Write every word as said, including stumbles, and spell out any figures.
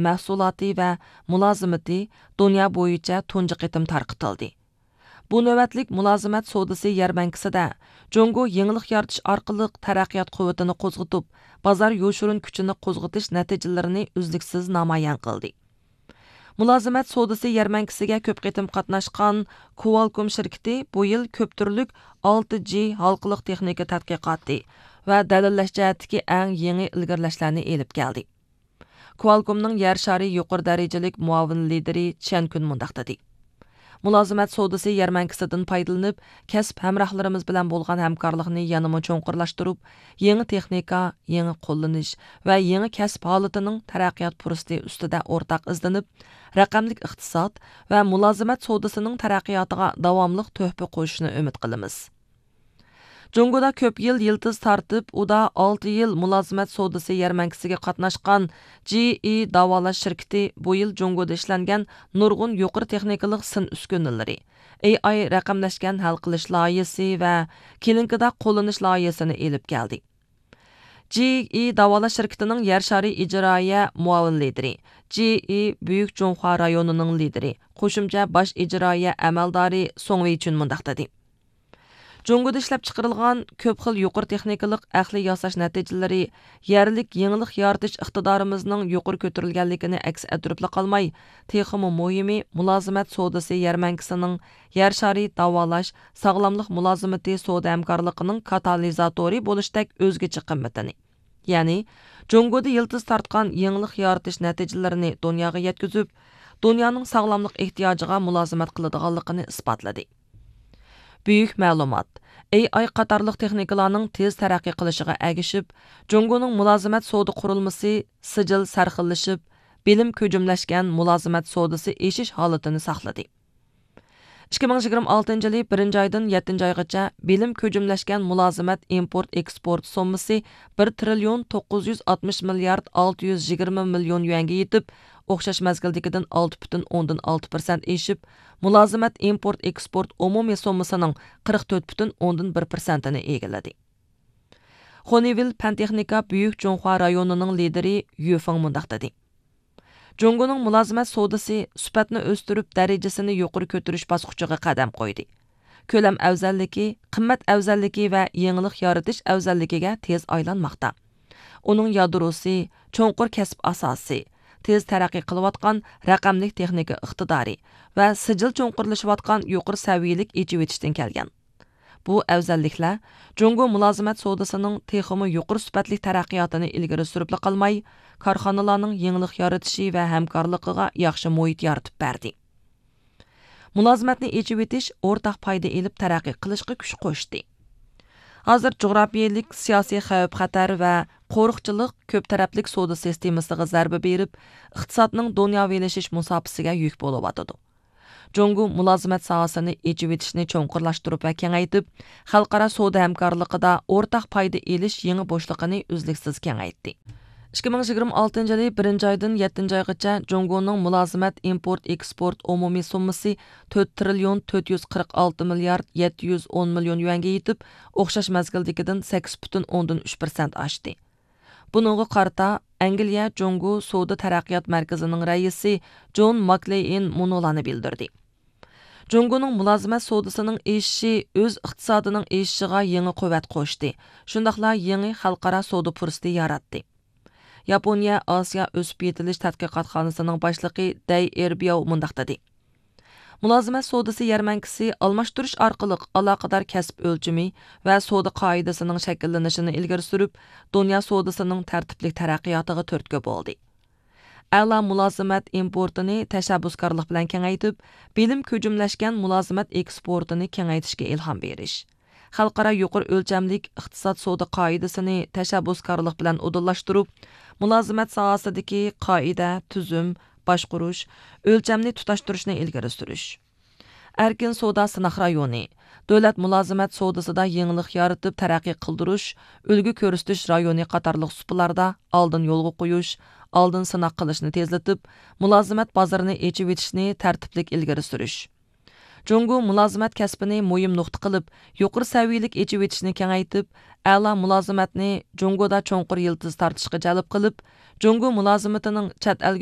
مەھسۇلاتى ۋە مۇلازىمىتى دۇنيا بويىچە تۇنجى قېتىم تارقىتىلدى. بۇ نۆۋەتلىك مۇلازىمەت سودىسى يەرمەنكىسىدە جۇڭگو يېڭىلىق يارىتىش ئارقىلىق تەرەققىيات قۇۋۋىتىنى قوزغىتىپ، بازار يوشۇرۇن كۈچىنى قوزغىتىش نەتىجىلىرىنى ئۈزلۈكسىز نامايان قىلدى. مۇلازىمەت سودىسى يەرمەنكىسىگە كۆپ قېتىم قاتناشقان كوالكوم شىركىتى بۇ يىل كۆپ تۈرلۈك ئالتە جى ھالقىلىق تېخنىكا تەتقىقاتى ۋە دەلىللەش جەھەتتىكى ئەڭ يېڭى ئىلگىرىلەشلەرنى ئېلىپ كەلدى. كوالكومنىڭ يەر شارى يۇقىرى دەرىجىلىك مۇئاۋىن لىدىرى چيەن كۈن مۇنداق دېدى: مۇلازىمەت سودىسى يەرمەنكىسىدىن پايدىلىنىپ، كەسىپ ھەمراھلىرىمىز بىلەن بولغان ھەمكارلىقنى يەنىمۇ چوڭقۇرلاشتۇرۇپ، يېڭى تېخنىكا، يېڭى قوللىنىش ۋە يېڭى كەسىپ ھالىتىنىڭ تەرەققىيات پۇرسىتى ئۈستىدە ئورتاق ئىزدىنىپ، رەقەملىك ئىقتىساد ۋە مۇلازىمەت سودىسىنىڭ تەرەققىياتىغا داۋاملىق تۆھپە قوشۇشنى ئۈمىد قىلىمىز. جۇڭگودا كۆپ يىل يىلتىز تارتىپ، ئۇدا ئالتە يىل مۇلازىمەت سودىسى يەرمەنكىسىگە قاتناشقان جى ئى داۋالاش شىركىتى بۇ يىل جۇڭگودا ئىشلەنگەن نۇرغۇن يۇقىرى تېخنىكىلىق سىن ئۈسكۈنىلىرى، ئېي ئاي رەقەملەشكەن ھەل قىلىش لايىھىسى ۋە كلىنىكىدا قوللىنىش لايىھىسىنى ئېلىپ كەلدى. جى ئى داۋالاش شىركىتىنىڭ يەر شارى ئىجرائىيە مۇئاۋىن لىدىرى، جى ئى بۈيۈك جۇڭخۇا رايونىنىڭ لىدىرى، قوشۇمچە باش ئىجرائىيە ئەمەلدارى سۇڭ ۋېيچۈن مۇنداق دېدى: جۇڭگودا ئىشلەپچىقىرىلغان كۆپ خىل يۇقىرى تېخنىكىلىق ئەقلىي ياساش نەتىجىلىرى يەرلىك يېڭىلىق يارىتىش ئىقتىدارىمىزنىڭ يۇقىرى كۆتۈرۈلگەنلىكىنى ئەكس ئەتتۈرۈپلا قالماي، تېخىمۇ مۇھىمى، مۇلازىمەت سودىسى يەرمەنكىسىنىڭ يەر شارى داۋالاش، ساغلاملىق مۇلازىمىتى سودا ھەمكارلىقىنىڭ كاتالىزاتورى بولۇشتەك ئۆزگىچە قىممىتىنى، يەنى جۇڭگودا يىلتىز تارتقان يېڭىلىق يارىتىش نەتىجىلىرىنى دۇنياغا يەتكۈزۈپ، دۇنيانىڭ ساغلاملىق ئېھتىياجىغا مۇلازىمەت قىلىدىغانلىقىنى ئىسپاتلىدى. بۈيۈك مەلۇمات، ئېي ئاي قاتارلىق تېخنىكىلارنىڭ تېز تەرەققىي قىلىشىغا ئەگىشىپ، جۇڭگونىڭ مۇلازىمەت سودا قۇرۇلمىسى سىجىل سەرخىللىشىپ، بىلىم كۆجۈملەشكەن مۇلازىمەت سودىسى ئېشىش ھالىتىنى ساقلىدى. ئىككى مىڭ يىگىرمە ئالتىنچى يىلى بىرىنچى ئايدىن يەتتىنچى ئايغىچە بىلىم كۆجۈملەشكەن مۇلازىمەت ئىمپورت ئېكسپورت سوممىسى بىر تىرىليون توققۇز يۈز ئاتمىش مىليارد ئالتە يۈز يىگىرمە مىليون يۈەنگە يېتىپ، ئوخشاش مەزگىلدىكىدىن ئالتە پۈتۈن ئوندىن ئالتە پىرسەنت ئېشىپ، مۇلازىمەت ئىمپورت ئېكسپورت ئومۇمىي سوممىسىنىڭ قىرىق تۆت پۈتۈن ئوندىن بىر پىرسەنتىنى ئىگىلىدى. خونىۋىل پەن تېخنىكا بۈيۈك جۇڭخۇا رايونىنىڭ لىدىرى يۈ فېڭ مۇنداق دېدى: جۇڭگونىڭ مۇلازىمەت سودىسى سۈپەتنى ئۆستۈرۈپ، دەرىجىسىنى يۇقىرى كۆتۈرۈش باسقۇچىغا قەدەم قويدى. كۆلەم ئەۋزەللىكى، قىممەت ئەۋزەللىكى ۋە يېڭىلىق يارىتىش ئەۋزەللىكىگە تېز ئايلانماقتا. ئۇنىڭ يادروسى، چوڭقۇر كەسىپ ئاساسى، تېز تەرەققىي قىلىۋاتقان رەقەملىك تېخنىكا ئىقتىدارى ۋە سىجىل چوڭقۇرلىشىۋاتقان يۇقىرى سەۋىيەلىك ئېچىۋېتىشتىن كەلگەن. بۇ ئەۋزەللىكلەر جۇڭگو مۇلازىمەت سودىسىنىڭ تېخىمۇ يۇقىرى سۈپەتلىك تەرەققىياتىنى ئىلگىرى سۈرۈپلا قالماي، كارخانىلارنىڭ يېڭىلىق يارىتىشى ۋە ھەمكارلىقىغا ياخشى مۇھىت يارىتىپ بەردى. مۇلازىمەتنى ئېچىۋېتىش ئورتاق پايدا ئېلىپ تەرەققىي قىلىشقا كۈچ قوشتى. ھازىر جۇغراپىيەلىك سىياسىي خەۋپ خەتەر ۋە قورۇقچىلىق كۆپ تەرەپلىك سودا سىستېمىسىغا زەربە بېرىپ، ئىقتىسادنىڭ دۇنياۋىلىشىش مۇساپىسىگە يۈك بولۇۋاتىدۇ. جۇڭگو مۇلازىمەت ساھەسىنى ئېچىۋېتىشنى چوڭقۇرلاشتۇرۇپ ۋە كېڭەيتىپ، خەلقئارا سودا ھەمكارلىقىدا ئورتاق پايدا ئېلىش يېڭى بوشلۇقىنى ئۈزلۈكسىز كېڭەيتتى. ئىككى مىڭ يىگىرمە ئالتىنچى يىلى بىرىنچى ئايدىن يەتتىنچى ئايغىچە جۇڭگونىڭ مۇلازىمەت ئىمپورت ئېكسپورت ئومۇمىي سوممىسى تۆت تىرىليون تۆت يۈز قىرىق ئالتە مىليارد يەتتە يۈز ئون مىليون يۈەنگە يېتىپ، ئوخشاش مەزگىلدىكىدىن سەككىز پۈتۈن ئوندىن ئۈچ پىرسەنت ئاشتى. بۇنىڭغا قارىتا، ئەنگلىيە جۇڭگو سودا تەرەققىيات مەركىزىنىڭ رەئىسى جون ماكلېين مۇنۇلارنى بىلدۈردى: جۇڭگونىڭ مۇلازىمەت سودىسىنىڭ ئېشىشى ئۆز ئىقتىسادىنىڭ ئېشىشىغا يېڭى قۇۋۋەت قوشتى، شۇنداقلا يېڭى خەلقئارا سودا پۇرسىتى ياراتتى. ياپونىيە ئاسىيا ئۆسۈپ يېتىلىش تەتقىقاتخانىسىنىڭ باشلىقى دەي ئېربياۋ مۇنداق دېدى: مۇلازىمەت سودىسى يەرمەنكىسى ئالماشتۇرۇش ئارقىلىق ئالاقىدار كەسىپ ئۆلچىمى ۋە سودا قائىدىسىنىڭ شەكىللىنىشىنى ئىلگىرى سۈرۈپ، دۇنيا سودىسىنىڭ تەرتىپلىك تەرەققىياتىغا تۈرتكە بولدى. ئەلا مۇلازىمەت ئىمپورتىنى تەشەببۇسكارلىق بىلەن كېڭەيتىپ، بىلىم كۆجۈملەشكەن مۇلازىمەت ئېكسپورتىنى كېڭەيتىشكە ئىلھام بېرىش، خەلقئارا يۇقىرى ئۆلچەملىك ئىقتىساد سودا قائىدىسىنى تەشەببۇسكارلىق بىلەن ئۇدۇللاشتۇرۇپ، مۇلازىمەت ساھەسىدىكى قائىدە، تۈزۈم، باشقۇرۇش، ئۆلچەمنى تۇتاشتۇرۇشنى ئىلگىرى سۈرۈش. ئەركىن سودا سىناق رايونى، دۆلەت مۇلازىمەت سودىسىدا يېڭىلىق يارىتىپ تەرەققىي قىلدۇرۇش، ئۈلگە كۆرسىتىش رايونى قاتارلىق سۇپىلاردا ئالدىن يولغا قويۇش، ئالدىن سىناق قىلىشنى تېزلىتىپ، مۇلازىمەت بازىرىنى ئېچىۋېتىشنى تەرتىپلىك ئىلگىرى سۈرۈش. جۇڭگو مۇلازىمەت كەسپىنى مۇھىم نۇقتا قىلىپ، يۇقىرى سەۋىيەلىك ئېچىۋېتىشنى كېڭەيتىپ، ئەلا مۇلازىمەتنى جۇڭگودا چوڭقۇر يىلتىز تارتىشقا جەلپ قىلىپ، جۇڭگو مۇلازىمىتىنىڭ چەت ئەلگە